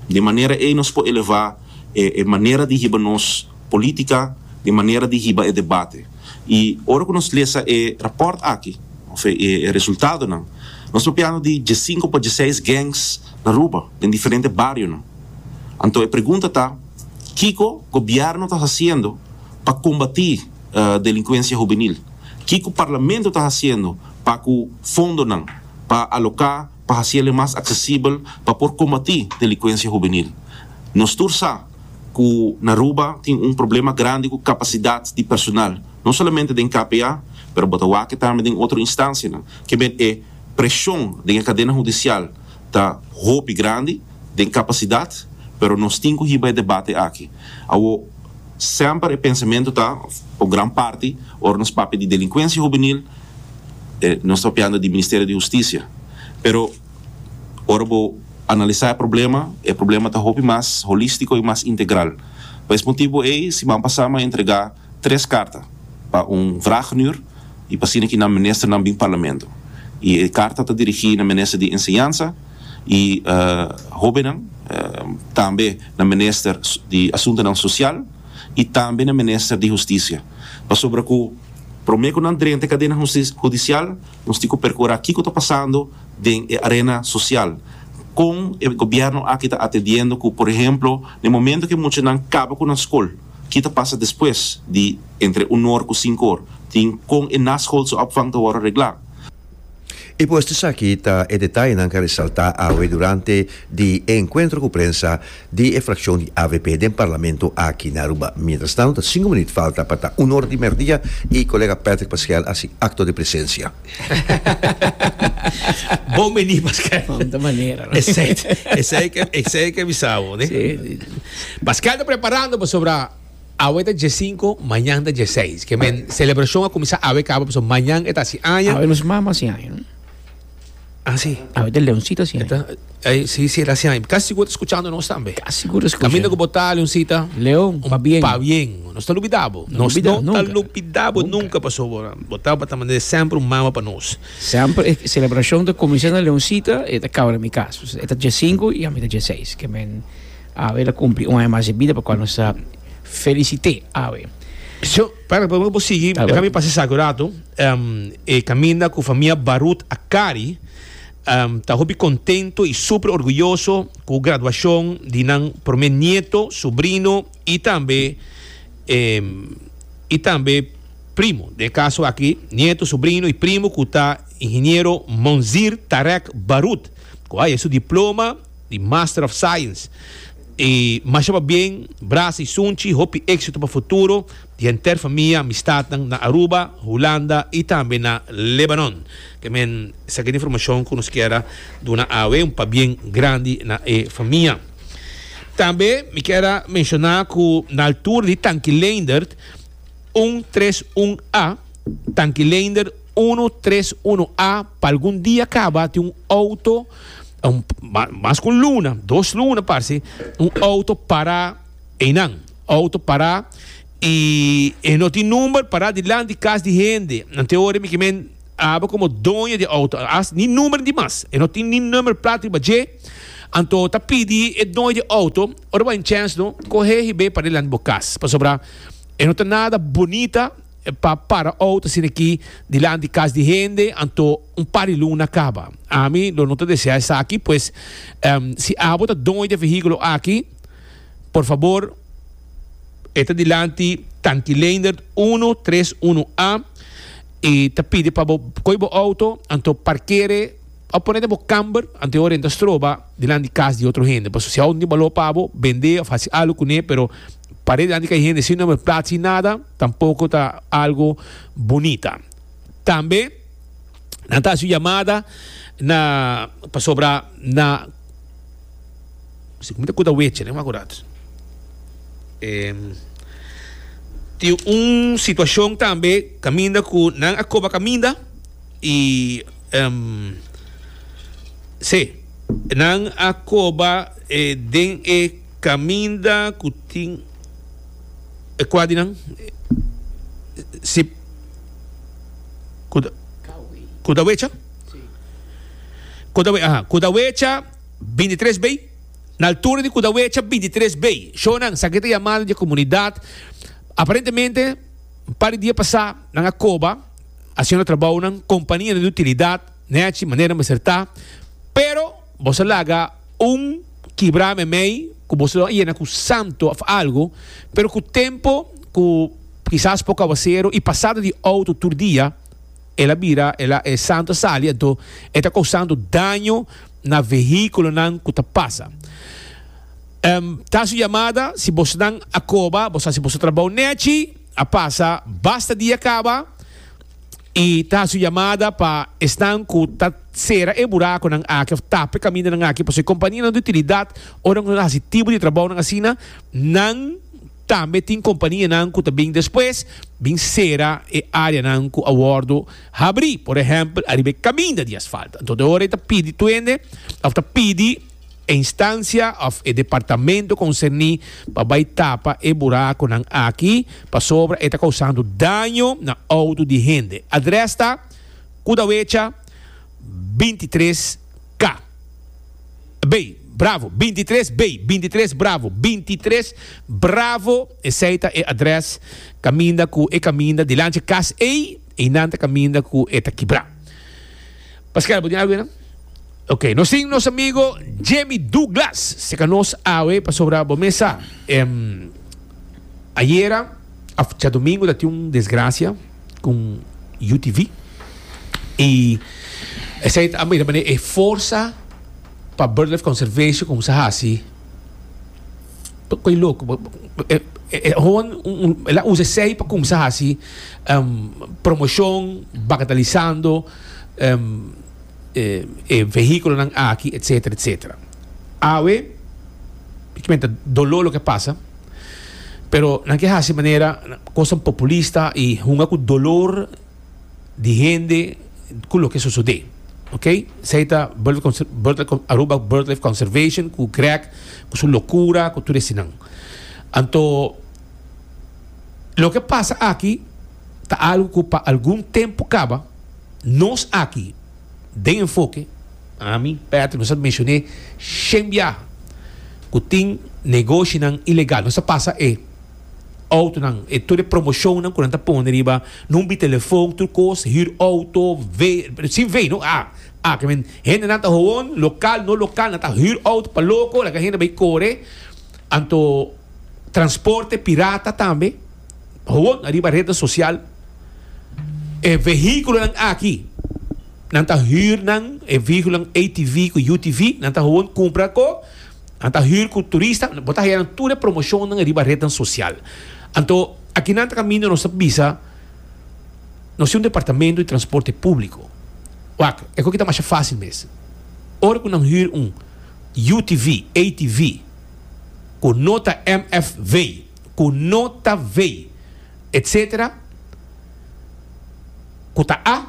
Speaker 4: Di manera ei nos por elevá e manera di hiba nos polítika, di manera di hiba e debate. I ora ku nos lesa e rapòrt aki, òf e resultadonan, nos papiando di diesinku pa dieseis gangs na Aruba, den diferente barionan. Anto e pregunta ta, kiko gobièrnu ta hasiendo pa kombatí delinkuensia hubenil? Kiko Parlamento ta hasiendo pa ku fondonan pa aloká pa hasiel e mas aksesibel pa por kombatí delinkuensia hubenil? Nos tur sa ku na Aruba tin un problema grandi ku kapasidat di personal, no solamente den KPA, pero bo ta wak tambe den otro instansianan. Ke men e preshon den e kadena hudisial ta hopi grandi den kapasidat, pero nos tin ku hiba e debate aki. Awo. Semper e pensamentu ta, o gran parti, ora nos papia di delinkuensia hubenil, nos ta papiando di Ministerio di Hustisia. Pero ora bo analisá e problema, e problema ta hopi mas holístiko i mas integral. Pa es motibu ei, siman pasá mi a entregá tres karta pa un vragenuur i pa asina ki nan ministernan bin Parlamento. I e karta ta dirigí na Minister di Enseñansa i Hóbennan, tambe na Minister di Asuntonan Sosial i tambe na Minister di Hustisia. Pasobra ku promé ku nan drenta e kadena hudisial, nos tin ku perkurá kiko ta pasando den e arena sosial. Kon e gobièrnu aki ta atendiendo ku, por ehemplo, na e momento ku e muchanan kaba ku nan skol, ki ta pasa despues di entre un or ku sinku or? Tin kon e naschoolse opvang ta wòrdu reglá?
Speaker 2: I pues esaki ta e detayenan ku a resaltá awe durante di e enkuentro ku prensa di e frakshon di avp den parlamento aki na Aruba. Mientras tanto ta sinku minuut falta pa ta un or di merdia i kolega Patrick Paskel a hasi akto di presensia.
Speaker 1: Bon bini Paskel.
Speaker 5: Cuanta manera. No?
Speaker 1: Esey, esey ke, esey ke bisa bo, ne?
Speaker 5: Sí.
Speaker 1: Paskel ta preparando pasobra Awe ta diesinco, mañan ta dieseis. Ke men celebracion a cuminsa awe caba pasobra mañan e ta haci aña.
Speaker 5: Awe nos mama haci aña, no?
Speaker 1: Ah, si.
Speaker 5: Awe ta Leoncita haci aña.
Speaker 1: E ta, ay, si, si, e ta haci aña. Casi sigur ta scuchando nos tambe.
Speaker 5: Casi sigur ta scucha.
Speaker 1: Caminda cu bo ta, Leoncita.
Speaker 5: Leon, pabien.
Speaker 1: Pabien. Nos ta lubida bo.
Speaker 5: No
Speaker 1: Nos
Speaker 5: lubida,
Speaker 1: no ta
Speaker 5: nunca.
Speaker 1: lubida bo
Speaker 5: Nunca.
Speaker 1: nunca pasobra bo tabata manera semper un mama pa nos.
Speaker 5: Semper e celebracion ta cuminsa na Leoncita, e ta caba na mi cas. E ta diesinco y ami ta dieseis. Ke men. Awe el a cumpli un aña mas di bida pa cual nos ta felicit'é awe.
Speaker 1: Sho, para pa bo sigui,
Speaker 5: A
Speaker 1: deja
Speaker 5: ver.
Speaker 1: mi pasa esaki un rato. E caminda cu famia Barut Akari ta hopi contento y super orguyoso cu graduacion di nan prome nieto, sobrino y tambe y tambe primo. Den e caso aki, nieto, sobrino y primo cu ta ingeniero Monzir Tarek Barut cu haya su diploma di Master of Science. Y masha pabien, brasa y sunchi, hopi exito pa futuro di henter famia, amistadnan na Aruba, Hulanda y tambe na Lebanon. Ke men esaki ta informacion cu nos kier a duna awe, un pabien grandi na e famia. Tambe mi kier a menciona cu na altura di Tanki Leendert un tres un A, Tanki Leendert uno tres uno A, pa algun dia caba tin un auto, un mas ku un luna, dos luna parse, un auto para einan. Auto para i e no tin number para dilanti kas di hende. Anto e ora mi ke men abo komo doño di auto, as ni number di mas, e no tin ni number plat riba dje. Anto ta pidi e doño di auto, ora bo a chèns no, kohe hib'é para dilanti bo kas, pasobra e no ta nada bunita. pa para auto asina aki dilanti cas di hende, anto un par di luna caba. Ami lo no ta desea esaki, pues si abo ta doño di e vehiculo aki, por fabor e ta dilanti Tanki Leendert uno tres uno A y ta pidi pa bo coy bo auto, anto parkere of pone den bo camber, anto e ora e ta stroba dilanti cas di otro hende. Pasobra si auto no tin balor pa bo, bende of haci algo cune, pero Pare dilanti ka hende sin nomber plat sin nada tampoco ta algo bunita. Tambe nan ta haci un yamada na pasobra na si mi ta kuda weche ne akurat tin un situacion tambe kaminda ku nan a koba kaminda y si nan a koba den e Caminda cu tin e cua di nan? Si cu ta cu ta wecha? Cu ta aha cu ta wecha 23 bay na altura di cu ta wecha 23 bay shownan sa ke ta yamada di e comunidad aparentemente un par di dia pasa nan a coba haciendo trabounan companianan di utilidad nechi manera mester ta pero boso a laga Un kibra memey ku boso lo a yena ku santo of algu, pero ku tempo ku kisas poko awaseru i pasada di outo tur dia, el a bira, el a, e santo a sali, anto e ta kousando daño na vehíkulonan ku ta pasa. Ta su yamada, si bosonan a koba, boso hasi boso trabou nechi, a pasa basta dia kaba, I ta hasi un yamada pa esnan ku ta sera e burakonan aki òf tapa e kamindanan aki, pasobra e kompanianan di utilidat ora ku nan ta hasi tipo di trabounan asina, nan tambe tin kompanianan ku ta bin despues bin sera e áreanan ku a wòrdu habrí, por ehèmpel ariba e kaminda di asfalto. Anto de ora e ta pidi tur hende òf ta pidi. E instancia of e departamento concerni pa bay tapa e buraconan aki pasobra e ta causando daño na auto di hende. Adres ta Kudawecha 23 K. B, Bravo, 23 B, 23 Bravo, 23 Bravo, esey ta e adres caminda cu e caminda dilanti e cas ey, eynan ta caminda cu e ta kibra. Pascal, bo tin algo eynan? Ok, nos tin nos amigo Jimmy Douglas seka nos awe pasobra bo mes sa em, ayera of djadomingo ta tin un desgracia con UTV y Esei ta a mira manera e forsa pa Birdlife Conservation kumsa hasi koe loko. Gewoon el a usa esei pa kumsa hasi promoshon bagatalisando e vehíkulonan aki etcetera etcetera. Awe ta doló loke a pasa pero nan ke hasi manera kosnan populista i hunga ku dolor di hende ku loke sosodé. Ok, esei ta Aruba Birdlife Conservation ku Greg ku su lokura ku tur eseinan. Anto loke pasa aki ta algu ku pa algun tempu kaba nos aki den Enfoke, ami, Patrick, nos a menshoné shen biaha ku tin negoshinan ilegal. Nos a pasa e. Autonan, e tur e promocionnan cu nan ta pone riba number di telefon, tur cos, huur auto, V, sin V no, A, A, ke men hendenan ta gewoon, local, no local, nan ta huur auto pa loco, laga hende bay core, anto transporte pirata tambe, gewoon ariba rednan social, e vehiculonan aki, nan ta huur nan, e vehiculonan ATV cu UTV, nan ta gewoon cumpra co. Nan ta hür ku turista, bo ta haya nan tur e promoshonnan riba retnan sosial. Anto akinan ta kaminda nos ta bisa nos tin un departamento di transporte públiko. Wak, e koki ta masha fásil mes. Ora ku nan hür un UTV, ATV, ku no ta MFV, ku no ta V, etsetera, ku ta A,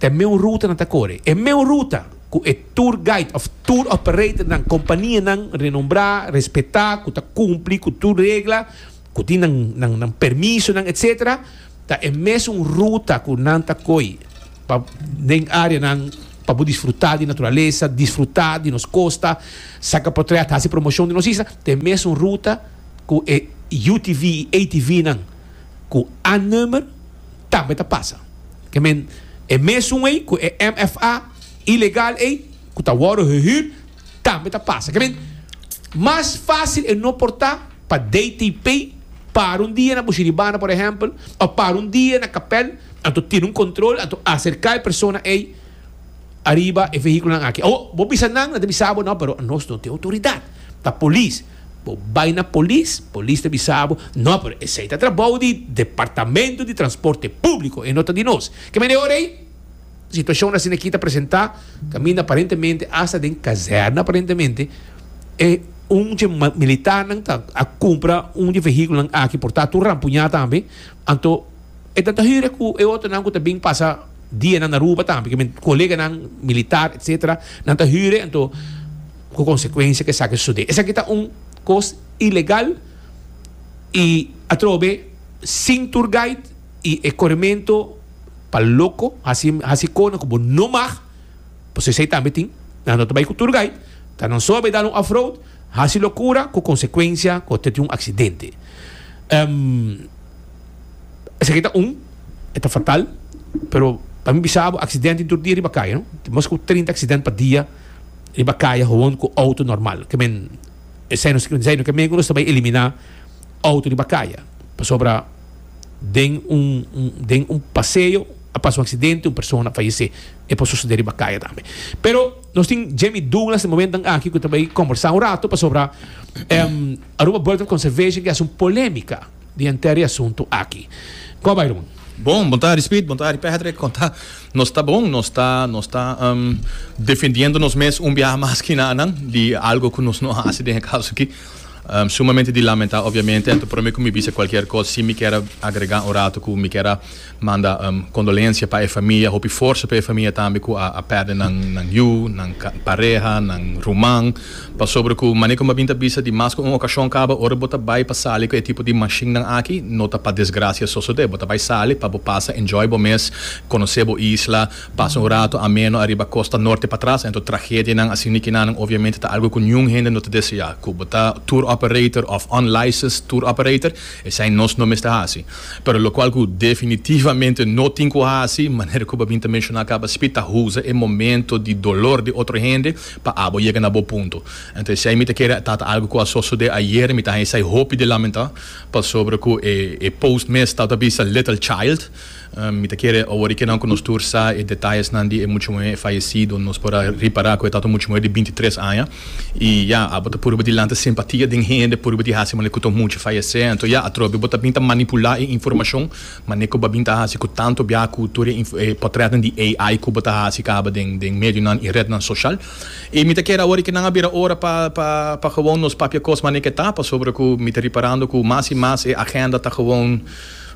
Speaker 1: ta e meun ruta nan ta kore. E meun ruta ku e tour guide òf tour operatornan, kompanianan renombrá, respetá, ku ta kumpli ku tur regla, ku tin nan nan nan permisonan etsetera, ta e mesun ruta ku nan ta koi pa den áreanan pa bo disfrutá di naturalesa, disfrutá di nos kosta, saka potrèt, hasi promoshon di nos isla, ta e mesun ruta ku e UTV i ATVnan ku A-nummer tambe ta pasa. Ke men e mesun ei ku e MFA ilegal ei ku ta wòrdu gehuur tambe ta pasa. Ke men mas fásil e no por ta pa DTP para un dia na Bushiribana por ehèmpel òf para un dia na Kapèl anto tene un kontrol anto aserká e persona ei ariba e vehíkulonan aki. Awor bo bisa nan, nan ta bisa bo no pero nos no tin outoridat, ta polis. Bo bai na polis, polis ta bisa bo, no pero esei ta trabou di Departamento di Transporte Públiko, e no ta di nos. Ke mende ora ei, situashon asina aki ta presentá, kaminda aparentemente asta den kazèrna aparentemente e un dje militarnan ta a kumpra un dje vehíkulonan aki por ta tur rampuñá tambe, anto e ta ta hür ku e otronan ku ta bin pasa dianan na Aruba tambe, ke men koleganan militar etcetera nan ta hür anto. Ku konsekuensia ku esaki sosodé. Esaki ta un kos ilegal i atrobe sin tour guide i e korementu pa loko hasi hasi kona ku bo no mag, pasobra esei tambe tin, nan no ta bai ku tour guide, ta nan so a bai dal un off road, hasi lokura ku konsekuensia ku ta tin un aksidente. Esaki ta un, e ta fatal, pero pa mi bisa bo aksidente tin tur dia riba kaya no, tin mas ku 30 aksidente pa dia. Riba kaya gewoon ku outo normal. Ke men esei no esei no ke men ku nos ta bai eliminá outo riba kaya. Pasobra den un den un paseo a pasa un aksidente un persona a fayesé. E por sosodé riba kaya tambe. Pero nos tin Jimmy Douglas den momentonan aki ku ta bai kombersá un rato pasobra Aruba Bird of Conservation ke hasi un polémika di henter e asuntu aki. Kon a bai ruman?
Speaker 6: Bon, bon tardi Speed, bon tardi Patrick, kon ta? Nos ta bon, nos ta nos ta defendiendo nos mes un biaha mas ki nan di algo ku nos no hasi den e kaso aki. Sumamente di lamenta obviamente, anto prome ku mi bisa kualkier kos si mi kier a agrega un rato ku mi kier a manda kondolensia pa e famia, hopi forsa pa e famia tambe ku a pèrdè nan nan yu, nan pareha, nan ruman, pasobra ku manera ku mi a bin ta bisa di mas ku un okashon kaba ora bo ta bai pa sali ku e tipo di mashinnan aki no ta pa desgrasia sosodé, bo ta bai sali pa bo pasa enjoy bo mes, konosé bo isla, pasa un rato ameno ariba kosta norte patras, anto tragedianan asina kinanan obviamente ta algu ku niun hende no ta deseá, ku bo ta tour operator òf unlicensed tour operator, esei nos no mester hasi. Pero lokual ku definitivamente no tin ku hasi, manera ku bo a bin ta menshoná kaba Speed, ta usa e momento di dolor di otro hende pa abo yega na bo punto. Anto esei mi ta kere ta ta algu ku a sosodé ayer, mi ta haña esei hopi di lamentá, pasobra ku e post mes tabata bisa little child. Mi ta kere awor i kenan ku nos tur sa e detayesnan di e mucha muhé fayesido. Nos por a ripará ku e tabata un mucha muhé di bintitres aña. I ya, abo ta purba di lanta simpatia den hende, purba di hasi manera ku ta un mucha fayesé. Anto ya, atrobe bo ta bin ta manipulá e informashon, manera ku bo a bin ta hasi ku tantu bia ku tur e pòtrètnan di AI ku bo ta hasi kaba den den medionan i retnan soshal. I mi ta kere awor ku nan a bira ora pa pa pa gewon nos papia kos manera ku e ta, pasobra ku mi ta riparando ku mas i mas e agenda ta gewon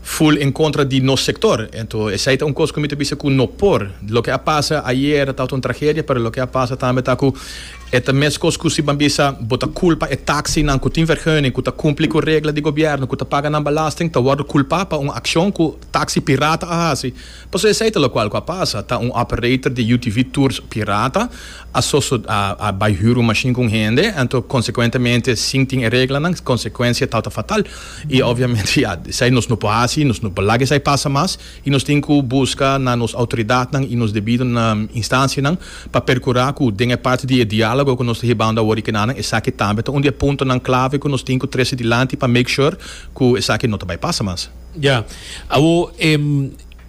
Speaker 6: Full en contra di nos sector. Ento esey ta un cos cu mi ta bisa cu no por. Loke a pasa ayer tabata un tragedia, pero loke a pasa tambe ta cu e ta mescos cu si ban bisa bo ta culpa e taxinan cu tin vergunning, cu ta cumpli cu regla di gobierno, cu ta paga nan belasting, ta wordo culpa pa un accion cu taxi pirata a haci. Pasobra esey ta locual cu a pasa. Ta un operator di UTV Tours pirata a soso a a bay huur un machine cu un hende, anto consecuentemente sin tin e reglanan, consecuencia tabata fatal. Y obviamente ya, esey nos no por haci, nos no por laga esey pasa mas y nos tin cu busca na nos autoridadnan y nos debido instancianan pa percura cu den e parti di e dialogo cu nos ta hibando awor y kenanan esaki tambe ta un di e puntonan clave cu nos tin cu trece dilanti pa make sure cu esaki no ta bay pasa mas.
Speaker 1: Ya. Awor,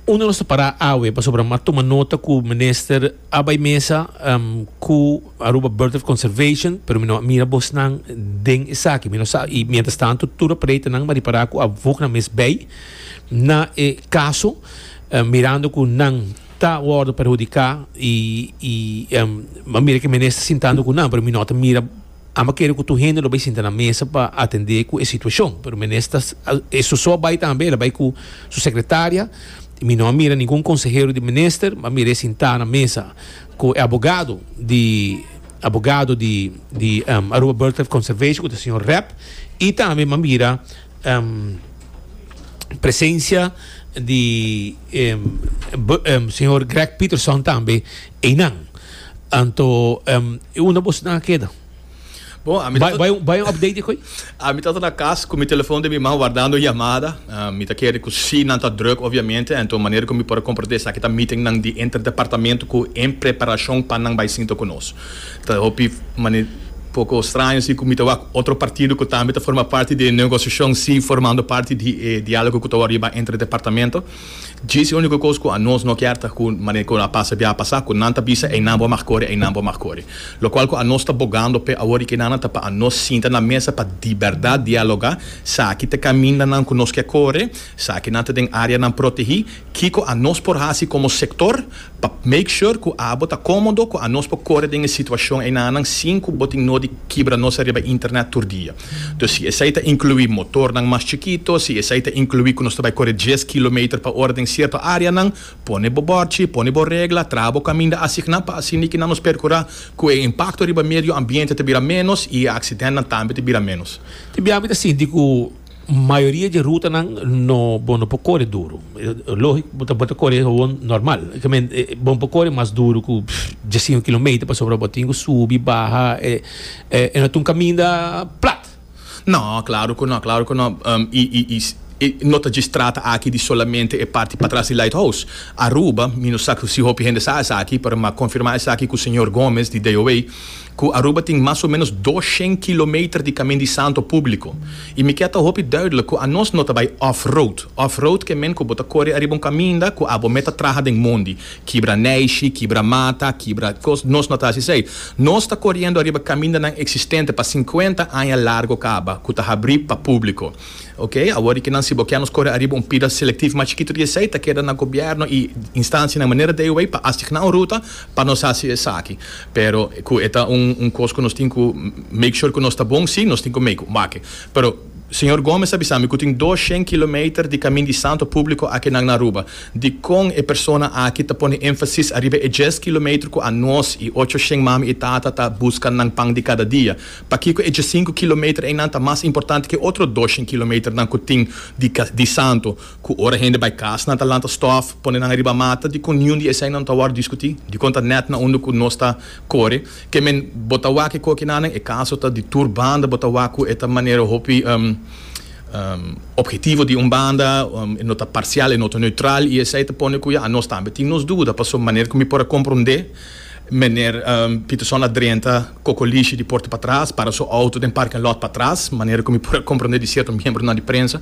Speaker 1: unda nos ta para awe? Pasobra mi a tuma nota cu minister a bay mesa cu Aruba Birdlife Conservation, pero mi no a mira bosnan den esaki. Mi no sa, y mientras tanto tur operatornan a ripara cu a voeg nan mes bay na e caso, mirando cu nan ta wordo perhudica y y mi a mira cu e minister sintando cu nan, pero mi no ta mira. Amo a kere ku tur hende lo bai sinta na mesa pa atendé ku e situashon, pero minister e su so a bai tambe, el a bai ku su sekretaria. Mi no a mira ningun konsehero di minister, mi a mir'é sintá na mesa ku e abogado di abogado di di Aruba Birdlife Conservation ku ta señor Rep i tambe mi a mira presensia di señor Greg Peterson tambe einan. Anto e unda bosnan a keda?
Speaker 6: Bon, ami ta.
Speaker 1: Bai bai un update dikoi?
Speaker 6: Ami ta na kas ku mi telefon den mi man wardando yamada. Mi ta kere ku si nan ta druk obviamente, anto manera ku mi por a komprende esaki ta meetingnan di interdepartamento ku en preparashon pa nan bai sinta ku nos. Ta hopi mane poko straño si ku mi ta wak otro partido ku tambe ta forma parti di e negosiashon si formando parti di e dialogo ku ta wòrdu hiba entre departamento. Djis e úniko kos ku anos no kier ta ku manera ku a pasa bia a pasa ku nan ta bisa einan bo a mag kore einan bo a mag kore. Lokual ku anos ta bogando p'e awor i kenana ta pa anos sinta na mesa pa di bèrdat dialogá saki ta kamindanan ku nos ke kore, sakinan ta den áreanan protehí, kiko anos por hasi komo sektor pa make sure ku abo ta kómodo ku anos por kore den e situashon einanan sin ku bo tin nodi kibra nos ariba internet tur dia. Dus si esei ta inkluí motornan mas chikito, si esei ta inkluí ku nos ta bai kore djes kilometer pa ora den sierto áreanan, pone bo bòrchi, pone bo regla, traha bo kaminda asigná pa asina kinan nos perkurá ku e impakto riba medio ambiente ta bira ménos i e aksidentnan tambe ta bira ménos.
Speaker 1: Tin bia mi ta sinti ku Mayoria dje rutanan no bo no por kore duru. Lógiko bo ta bo ta kore gewoon normal. Ke men bo no por kore mas duru ku diesinko kilometer pasobra bo tin ku subi baha e e no ta un kaminda plat.
Speaker 6: No, klaro ku no, klaro ku no. I i i no ta djis trata aki di solamente e parti patras di Lighthouse. Aruba, mi no sa si hopi hende sa esaki, pero mi a konfirmá esaki ku señor Gomez di DOA. Ku Aruba tin mas o menos doshen kilometer di kamin di santo públiko. I mi ke ta hopi duidelijk ku anos no ta bai off road. Off road ke men ku bo ta kore ariba un kaminda ku abo meta traha den mondi. Kibra neishi, kibra mata, kibra kos, nos no ta hasi esei. Nos ta koriendo ariba kamindanan eksistente pa sinkuenta aña largo kaba ku ta habrí pa públiko. Ok, awor di kinan si bo ke nos kore ariba un pida selektivo mas chikitu di esei ta keda na gobièrnu i instansianan manera DOW pa asigná un ruta pa nos hasi esaki. Pero ku e ta un un kos ku nos tin ku make sure ku nos ta bon, sí, nos tin ku make wak. Pero señor Gomez a bisa mi ku tin doshen kilometer di kamin di santo públiko akinan na Aruba. Dikon e persona aki ta pone énfasis ariba e djes kilometer ku anos i ochoshen mami i tata ta buska nan pan di kada dia? Pakiko e djesinku kilometer einan ta mas importante ke otro doshen kilometernan ku tin di di santo? Ku ora hende bai kas nan ta lanta stòf, pone nan riba mata, dikon niun di eseinan ta wòrdu diskutí? Dikon ta nèt na unda ku nos ta kore? Ke men bo ta wak e kokinan, e kaso ta di tur banda, bo ta wak ku e ta manera hopi ophetivo di un banda, e no ta parsial, e no ta neutral i esei ta pone ku ya anos tambe tin nos duda, pasobra manera ku mi por a komprondé. Meneer Peterson a drenta Cocolishi di porta patras, para su auto den parking lot patras, manera cu mi por a comprende di cierto miembronan di prensa.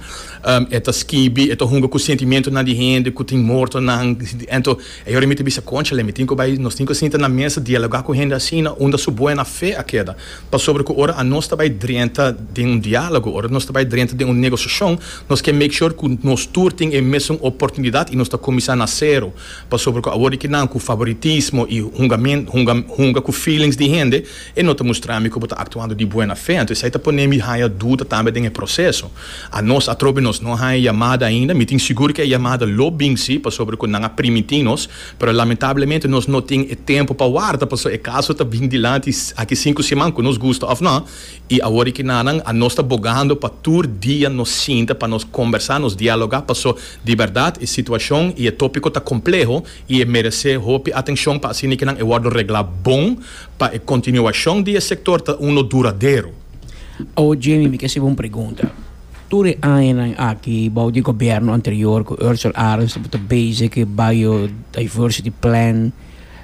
Speaker 6: E ta skibi, e ta hunga cu sentimentonan di hende cu tin mortonan. Ento e ora mi ta bisa, Conchale, mi tin cu bay, nos tin cu sinta na mesa dialoga cu hende asina, unda su buena fe a keda. Pasobra cu ora anos ta bay drenta den un dialogo, ora nos ta bay drenta den un negociacion, nos ke make sure cu nos tur tin e mesun oportunidad y nos ta cuminsa na cero. Pasobra ku awor di kinan ku favoritismo i hunga hunga ku feelings di hende, e no ta mustra mi ku bo ta aktuando di buena fe. Anto esei ta pone mi haña duda tambe den e proseso. Anos atrobe nos no haña yamada ainda. Mi tin sigur ku e yamada lo bin si, pasobra ku nan a primintí nos, pero lamentablemente nos no tin e tempu pa warda, pasobra e kaso ta bin dilanti aki sinku siman, ku nos gusta òf no. I awor di kinanan anos ta bogando pa tur dia nos sinta pa nos kombersá, nos dialogá, paso di bèrdat e situashon i e tópiko ta kompleho i e meresé hopi atenshon pa asina kinan e wòrdu reglá bon pa e kontinuashon di e sektor ta uno duradero.
Speaker 5: Awor Jamie mi ke hasibo un pregunta. Tur e añanan aki bou di gobièrnu anterior ku Ursel Arends tabata bezig ku e biodiversity plan,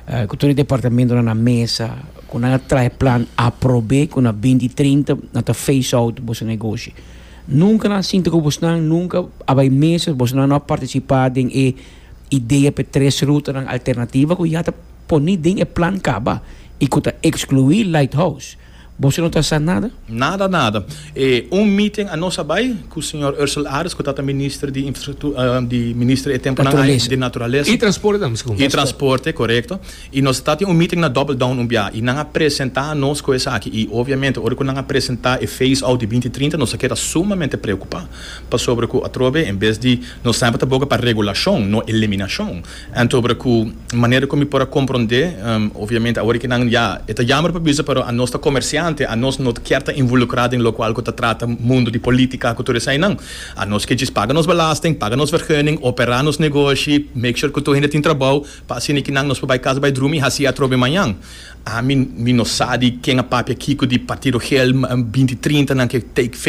Speaker 5: Ku tur e departamentonan na mesa, ku nan a traha e plan aprob'é ku na binti trinta nan ta phase out boso negoshi. Nunka nan a sinta ku bosnan, nunka a bai mesa, bosnan no a partisipá den e idea pa e tres rutanan alternativa ku ya ta poni den e plan kaba i ku ta ekskluí Lighthouse. Boso no ta sa nada?
Speaker 6: Nada, nada. E un meeting anos a bai cu señor Ursel Arends, cu tata minister di infrastructura, di minister e temponan ay di naturalesa.
Speaker 1: Y transporte tambe, segun.
Speaker 6: Y transporte, corecto. Y nos ta tin un meeting na Double Down un bia y nan a presenta anos cu esaki. Y obviamente ora cu nan a presenta e phase out di binti trinta nos a keda sumamente preocupa. Pasobra cu atrobe en bes di nos semper ta boga pa regulacion, no eliminacion. Anto ora cu manera cu mi por a comprende, obviamente awor ki nan ya e ta jammer pa bisa pero anos ta comerciante, anos no kier ta involucra den locual cu ta trata mundo di politica cu tur esainan. Anos ke djis paga nos belasting, paga nos vergunning, opera nos negoshi, make sure cu tur hende tin trabou pa asina ki nan nos por bay cas bay drumi y haci atrobe mañan. Ami mi no sa di ken a papia kico di partido gel 20 30 nan ke take.